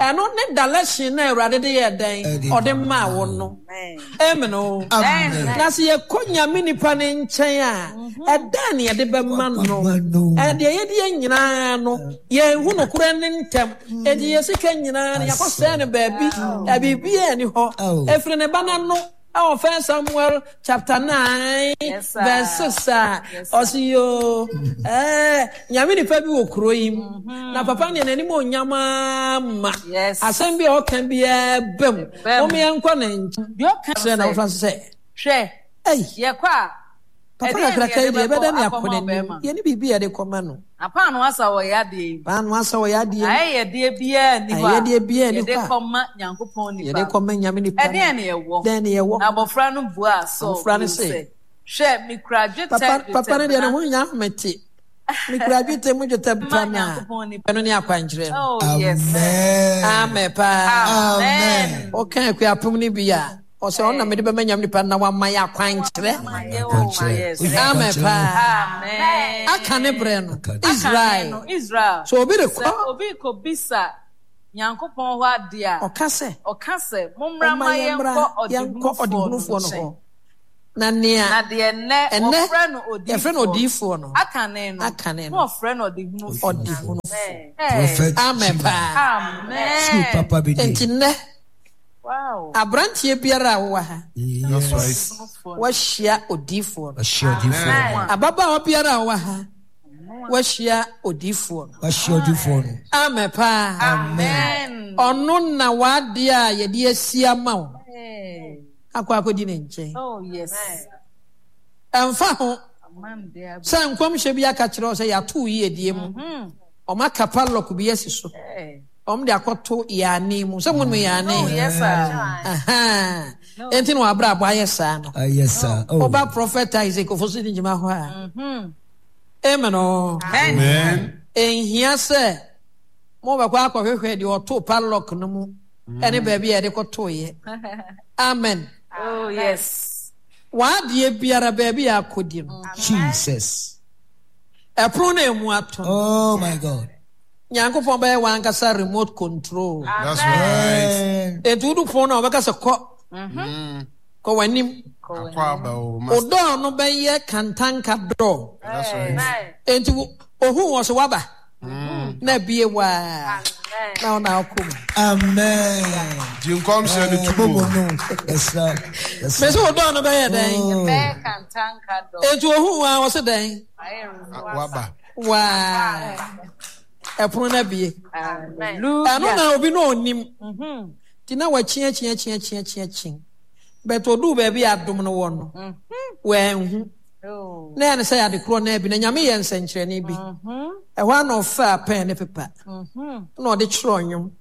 Ɛno ne direction na Awurade de yɛɛ dɛn? Ɔde maa wo no. Amen o. Na sɛ yɛkɔ Nyame nipa no nkyɛn a, ɛdɛn na yɛde bɛma no? Ɛdeɛ yɛde yɛ nyinaa no, yɛnhu nokorɛ ne ntɛm. Enti yɛ sika nyinaa no, yɛakɔsɛe no baabi, biribiara nni hɔ. Ɛfiri ne ba no ano ɛwɔ First Samuel chapter 9 verse 6 a, ɔse yoo, ɛɛ, Nyame nipa bi wɔ kuro yi mu, na papa neɛ n'anim onyam ama. Asɛm bi a ɔka biara ba mu. Mom yɛnkɔ ne nkyɛn. Deɛ ɔka Kyerɛ na sɛ, wofa so sɛ, Hwɛ, Ei, yɛkɔ a, papa ɛdeɛn na kakraka yi yɛde deɛ, bɛkɔ ɛbɛda ne akɔ akɔma n'anim. ɔbarima? Yɛne biribi a yɛde kɔma no. Na paanoo asa wɔ yɛn adeɛ yi mu. Paanoo asa wɔ yɛn adeɛ mu. Ayɛyɛdeɛ biara nni hɔ a Ayɛyɛdeɛ biara nni hɔ yɛde a kɔma Nyankopɔn nipa yɛde no. kɔma Nyame nipa no. Ɛdeɛn na yɛwɔ? Dɛn na yɛwɔ? Na abɔfra no buaa Saul Abɔfra no bio se, sɛ, Hwɛ, mekura dwetɛ Papa, papa no deɛ ne dwetɛbena ho nyɛ ahomete. Mekura dwetɛ mu dwetɛ ma pa no a. Nyankopɔn nipa. Ɛno ne akwankyerɛ no. Oh, yes. Amen. Amen paa. Amen. Woka akuapem no bi a, ɔsɛ ɔno na mede bɛma Nyame nipa no na wama yɛ akwankyerɛ. Akwankyerɛ. Amen paa. Amen. Aka ne berɛ no, Aka ne- Israel. Israel. So obi Sɛ rekɔ, obi rekɔbisa Nyankopɔn hɔ adeɛ a, ɔka sɛ, ɔka sɛ, Mommra Momma ma yɛmmra yɛnkɔ yɛnkɔ ɔdehunufoɔ no ɔdehunufoɔ no nkyɛn. hɔ. Na nea Na deɛ nnɛ ɛnnɛ wɔfrɛ no yɛfrɛ no odiyifoɔ odiyifoɔ no, akane no, akane na no, wɔfrɛ no ɔdehunufoɔ. ɔdehunufoɔ. Hey. Prophet Amen Chima. paa. School Amen. papa bi Enti nie. nnɛ, Wow. aberanteɛ biara a wowɔ ha, That's right. Ɔdehunufoɔ no. woahyia odiyifoɔ no. Wahyia odiyifoɔ no. Amen. Ababaawa biara a ɔwɔ ha, woahyia odiyifoɔ no. Wahyia odiyifoɔ no. Amen paa. Amen. Ɔno na w'adeɛ a yɛde asi ama wo Hey. akɔ akɔdi ne nkyɛn. Oh, yes. Ɛmfa ho Aman de ab- sɛ nkɔmhyɛ bi aka kyerɛ wo sɛ yɛato wo yiedie mu, wɔaka padlock bi asi so, Hey. wɔn de akɔto yaane mu. Sɛ mo nim yaane? Oh, yes, sir. Ahaa. Enti na w'abrabɔ ayɛ saa no. Ayɛ saa. Oh. Woba Prophet Isaac Ofosu ne gyima hɔ a. Amen o. Amen. Enhia sɛ mobɛkɔ akɔhwehwɛ deɛ ɔtoo padlock no mu ɛne baabi a yɛde kɔtoeɛ. Amen. Oh, yes. W'adeɛ biara baabi a akɔdi no. Jesus. Ɛpono no emu ato no. Oh my God. Nyankopɔn bɛyɛ w'ankasa remote control. That's right. Amen. Enti wodu pon no a wɔbɛka sɛ kɔ. Kɔ w'anim. Akɔ aba o. Wo Master. dɔɔ no bɛyɛ kantanka dɔɔ. That's right. Enti ohuu wɔ so waba. Na abie waa. Na wo na akɔ mu. Amen. Di nkɔmhyɛ no tu Bobo mu. no. Yɛsrɛ. Yɛsrɛ. Mese wo dɔɔ no bɛyɛ dɛn? Oh. Bɛyɛ kantanka dɔ. Enti ohuu waa wɔ so dɛn? Waba. Waa. Ɛpono no abie. Hallelujah. Ɛno na obi no onim. Nti na wakyiakyiakyiakyiakyi. But oduu baabi a adom no wɔ no, wanhu. Oh. Na ɛyɛ ne sɛ ade korɔ no abi na Nyame yɛ nsɛnkyerɛnne bi. Ɛhɔ ara na ɔfaa pɛn ne pepa na ɔde kyerɛw nnwom.